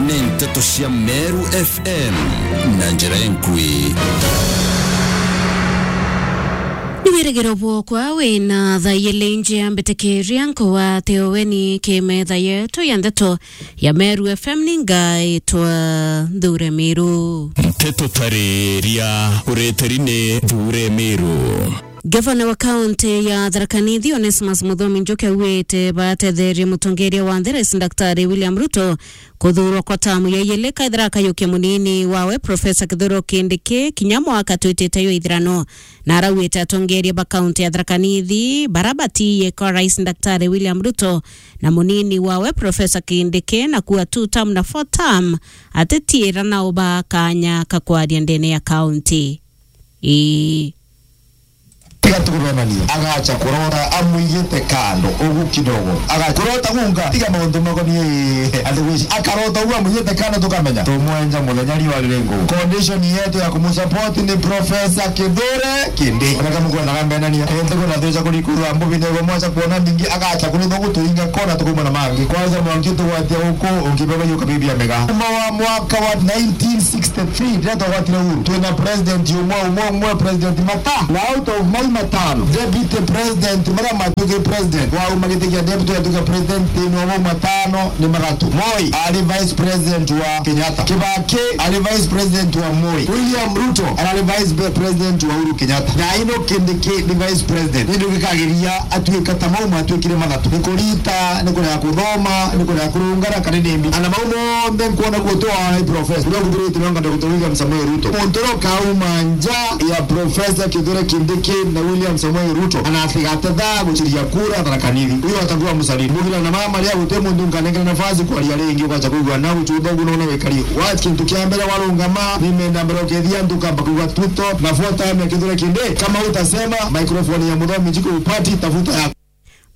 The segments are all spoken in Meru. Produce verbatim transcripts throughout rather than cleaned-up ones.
Ni nteto cia Meru F M na njira enkui. Ni wirigiro bwokwa wina thaa ijiri njia mbitikiria nkugwate uweni ki metha yetu ya nteto ya Meru F M. Ni ngaitwa Nthure Miru. Nteto tariria ureteri ni Nthure Miru. Gavana wa kaunti ya Tharaka Nithi, Onesmus Muthomi Njuki, augite batetherie mutongeria wa nthi, Rais Daktari William Ruto, kuthurwa kwa tamu ya ijiri, kaithira akayukia munini wawe, Professor Kithure Kindiki, kinya mwaka twitite jwa ithirano. Na araugite atongeria ba kaunti ya Tharaka Nithi, bara batiye kwa Rais Daktari William Ruto na munini wawe, Professor Kindiki, na kuwa two term na four term, atitiira nao ba kanya ka kwaria ndene ya kaunti. Ii. Tiga tukubenania. Agacha kurota amwigite kando ugu kidogo. Agacha kurota gunga, tiga maundu makonie ii, athi wici. Akarota ugu amwigite kando tukamenya. Tumwenja muthenya riwa riri ngu. Condition yetu ya kumusupport ni Professor Kithure Kindiki. Ona kama kwenda kambenania. Ente kuna thuja kurikuru ambu bine go mwacha kuona ningi agacha kurutha gutuinga kona tukuma na mangi. Kwanza mwangi tugwatia uku, ungibeba yuka bibi amega. Uma wa mwaka wa nineteen sixty-three, ndio twagwatire uhuru. Twina president umwe, umwe, umwe, President Mata. Na out of mau matano, deputy president, maria matuike president, wauma giti kia deputy atuike president thiini wa mau matano ni mathatu. Moi ari vice president wa Kenyatta. Kibaki ari vice president wa Moi. William Ruto arari vice be-, president wa Uhuru Kenyatta. Na ino Kindiki ni vice president. Ni ndu gikagiria atuika ta mau matuikire mathatu. Ni kurita, ni kurega kuthoma, ni kurega kurungara, kana ni mbi. Ana mau monthe nkwona guo tu wa professor. Uria kuthurite nonga Doctor William Samoei Ruto. Muntu uria ukauma nja ya Professor Kithure Kindiki na William Samoei Ruto, ana atigate thaa guciria kura Tharaka Nithi. Uyo atakuwa msaliti. Mugira na mama ria guti muntu nkanengera nafasi kwaria ringi, ugacha kuigua na guchutha ugu nona wikari. Wa kintu kia mbere warungama, ni menda mbere ukethia ntu kamba kuigua tuto, na four term ya Kithure Kindiki. Kama utasema, microphone ya Muthomi Njuki upati, tafuta ya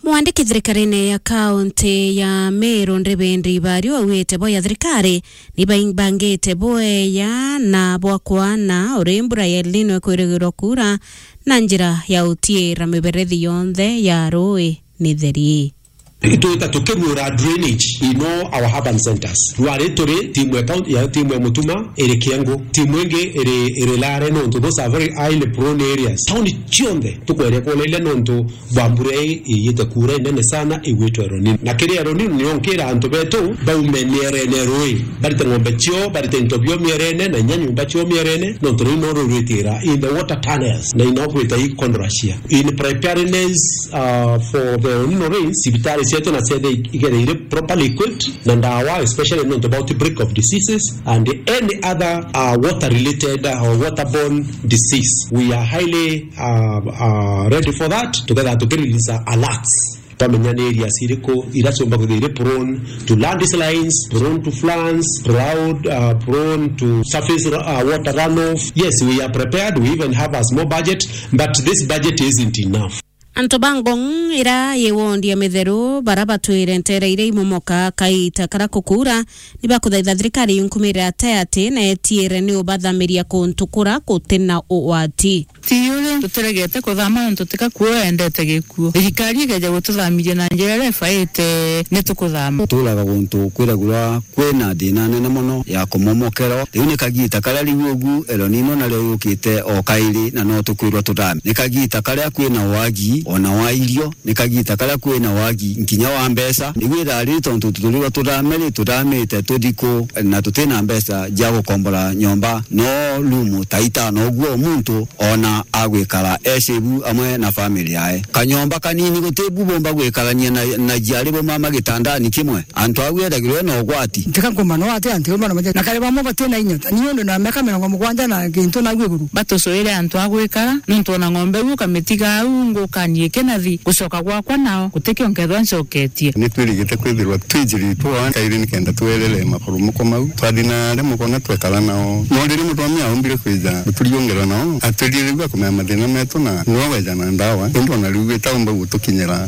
Mwandiki thirikarine ya kaunti ya Meru, Ndibindi Ibario, augite bo ya thirikari ni baimbangite bweya na bwa kwana uri mbura ya El Nino ikwirigirwa kuura na njira ya utiira miberethi yonthe ya rui ni theri. Itwita tukirura drainage in all our urban centers. Rwari turi timu ya kaunti, ya timu ya Mutuma iri Kiengu, timu ingi iri, iri Lare nontu those are very highly prone areas. Tauni cionthe tukweria kuleile nontu bwa mbura ii iyite kuura inene sana igwitwa El Nino. Na kiri El Nino nio nkira antu betu baume mierene rui, barite ng'ombe cio, barite into bio mierene, na inya nyumba cio mierene, nontu rui no rurwitira in the water tunnels, na ino gwita i Kondrashia. In preparedness, uh, for the El Nino rains, cibitari cietu na ciethe igereire properly equipped na ndawa, especially nontu about outbreak of diseases and any other, uh, water related, uh, or waterborne disease. We are highly uh, uh, ready for that, tuketha tukirelease alerts. Twamenya ni areas iriku ira ciumba kwithira iri prone to landslides, prone to floods, proud, uh, prone to surface ru-, uh, water runoff. Yes, we are prepared, we even have a small budget, but this budget isn't enough. Antu ba Ngong ira yi wondi ya Mitheru, bara batwire nteere iria imomoka kaita karia kukuura, ni bakuthaitha thirikari yunkumire ate ati na etiire ni ubathamiria kuntu kura kuti na ugwati. Ti uri tutiregete kuthama nontu tika kuo endete gikuo. Thirikari ikeja gututhamiria na njira iria ibaite, ni tukuthama. Turaga guntu kwiragirwa kwina thina nene mono ya kumomokerwa. Riu ni kagiita karia riu ugu El Nino nario yukite o kairi, na no tukwirwa tuthame. Ni kagiita karia kwina wagi ona wa irio, ni kagiita karia kwina wagi nkinya wa mbeca. Igwithaa riri tontu tuturirwa tuthame ri, tuthamite tuthi ku, na tutina mbeca cia gukombora nyomba, no rumu ta itano uguo muntu ona agwikara e safe amwe na family yae. Kanyomba kanini guti bu bomba gwikarania na, na jiari bo mama gitandani kimwe. Antu au ethagirwe na ugwati. Ntika nkumba no ati antu bana maje. Na kare bamwe batina inya. Ni undu na miaka mirongo mugwanja na kintu na iguru. Batucuire antu a gwikara, nontu ona ng'ombe iu ukamitiga au ngukanie kinathi, gucoka gwakwa nao, gutikio nkethwa ncoketie. Ni twirigite kwithirwa twijiri twa kairi nikenda twerere maporomoko mau. Twathi na aria mukona twekara nao. No riria mutumia aumbire kwija guturiungera nao, atwirire riu akumenya mathina metu na no weja na ndawa. Indi ona riu itaumba gutukinyira.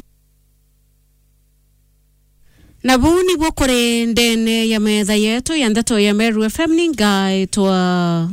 Na buu nibuo kuri ndene ya metha yetu ya ndeto ya Meru F M, ni ngaitwa